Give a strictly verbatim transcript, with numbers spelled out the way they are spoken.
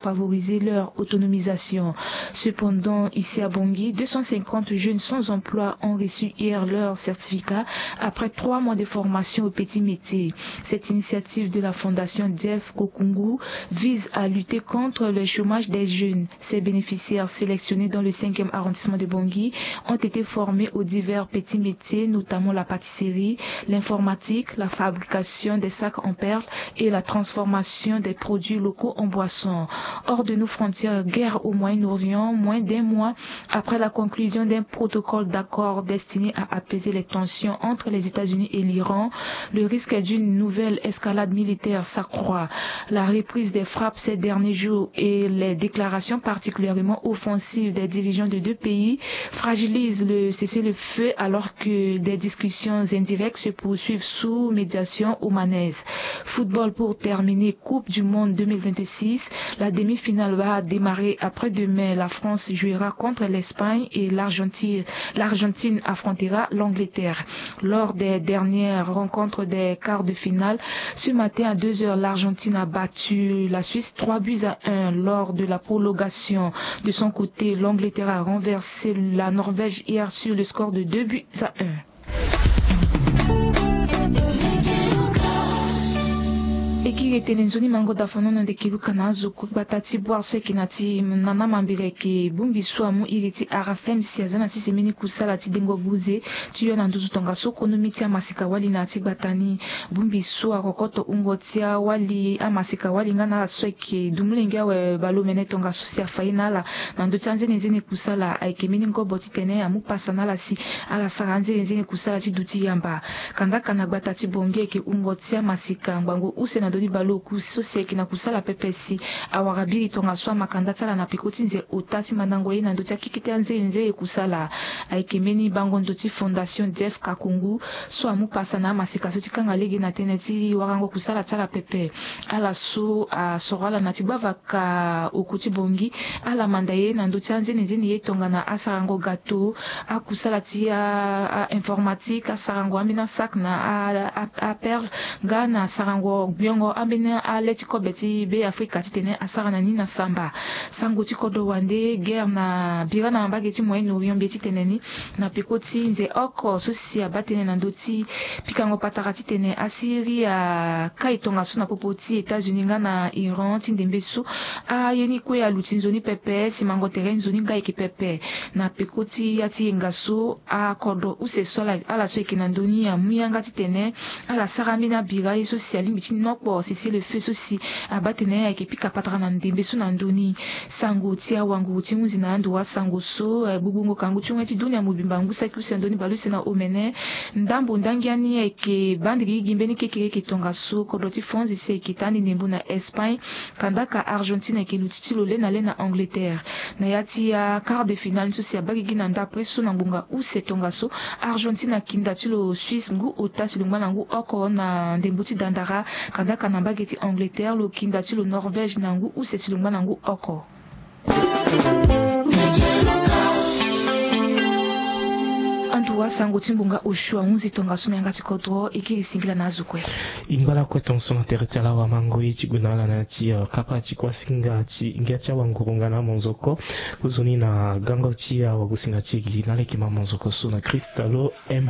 favoriser leur autonomisation. Cependant, ici à Bangui, deux cent cinquante jeunes sans emploi ont reçu hier leur certificat après trois mois de formation au petit métier. Cette initiative de la fondation Jeff Kokungu vise à lutter contre le chômage des jeunes. Ces bénéficiaires sélectionnés dans le cinquième arrondissement de Bangui ont été formés aux divers petits métiers, notamment la pâtisserie, l'informatique, la fabrication des sacs en perles et la transformation des produits locaux en boissons. Hors de nos frontières, guerre au Moyen-Orient, moins d'un mois après la conclusion d'un protocole d'accord destiné à apaiser les tensions entre les États-Unis et l'Iran, le risque d'une nouvelle escalade militaire s'accroît. La reprise des frappes ces derniers jours et les déclarations particulièrement offensives des dirigeants de deux pays fragilisent le cessez-le-feu alors que des discussions indirectes se poursuivent sous médiation omanaise. Football pour terminer, Coupe du Monde deux mille vingt-six, la demi-finale va démarrer après-demain. La France jouera contre l'Espagne et l'Argentine, l'Argentine affrontera l'Angleterre. Lors des dernières rencontres des quarts de finale, ce matin à deux heures, l'Argentine a battu la Suisse trois buts à un lors de la prolongation. De son côté, l'Angleterre a renversé la Norvège hier sur le score de deux buts à un. E kiri e tene nzoni mango dafano na ndeke luka na azo kue gbata ti boire so ayeke na ti nana mambiri ayeke bongbi so amu iri ti R F M si aza na ti semeni kusala ti dengo buze ti yo na nduzu tongaso konomi ti amasika wali na ya ti gbata ni. Bongbi so arokoto wungo ti awali amasika wali nga na ala so ayeke dumolenge awe baleomene tongaso si afa ye na ala na ndö ti anzenenzene kusala ayeke mbeni ngobo titene amu pasa na ala si ala sara anzenenzene kusala ti duti yamba. Kandaka na gbata ti Bangui ayeke wungo ti amasika ngbangbo use na ndö ni baleoku so si ayeke na kusala pepe si awara biri tongaso amakanda ti ala na peko ti nze ota ti mandango ye na ndö ti akeke ti anzenenzene kusala. Ayeke mbeni bango ndo ti fondation Jeff Kakungu so amu pasa na amasika so ti kanga lege na tënë ti warango kusala ti ala pepe. Ala so asoro ala na ti gbavaka oku ti Bangui, ala manda ye na ndö ti anzenenzene ye tongana asarango gato, akusala ti a, a informatique, asarango ambeni asac na a, a, aperle, nga na asarango gbiongo ambeni ale ti kobe ti Be Afrika titene asara na ni na samba. Sango ti kodro wande guerre na bira na mbage ti Moyen-Orient mbi ye titene ni na peko ti nze oko so si abaa tënë na ndö ti pikango patara titene Asiri akai tongaso na popo ti États-Unis nga na Iran ti ndembe so aye ni kue aluti nzoni pepe, simango tere nzoni nga ayeke pepe. Na peko ti ya ti yenga so akodro use so ala, ala so ayeke na ndö ni amu yanga titene ala sara ambeni abira ye so si alingbi ti nokpo cessez-le-feu so si abaa tene ayeke pika patara na ndembe so na ndö ni. Sango ti awanguru ti hunzi na ando wa sango so, eh, gbugbungo kangu ti hunga ti dunia mobimba ngu saki use na ndö ni baleuse na omene. Ndambo ndangia ni ayeke baa ndigi gi mbeni kekereke tongaso kodro ti France si ayeke taa ni ndembo na Espagne. Kandaka Argentine ayeke luti ti lo le na le na Angleterre. Na ya ti a quart de finale ni so si abaa gigi na ndapre so na ngbonga use tongaso, Argentine akinda ti lo Suisse ngu ota si lo ngba na ngu oko na ndembo ti dandara. Kandaka na mbage ti Angleterre lo kinda ti lo Norvège na ngu use si lo ngba na ngu oko. Ando wa sango ti ngbonga osio ahunzi tongaso na yanga ti kodro. E kiri singila na azo kue. E ngba lakue tongaso na tere ti ala wamango ye ti gue na ala na ya ti, eh, kapa ti kuasinga ti ngia ti awanguru nga na amonzoko. Kozoni na gango ti awagosinga ti e gi na leke ma monzoko so na Christ lo emba.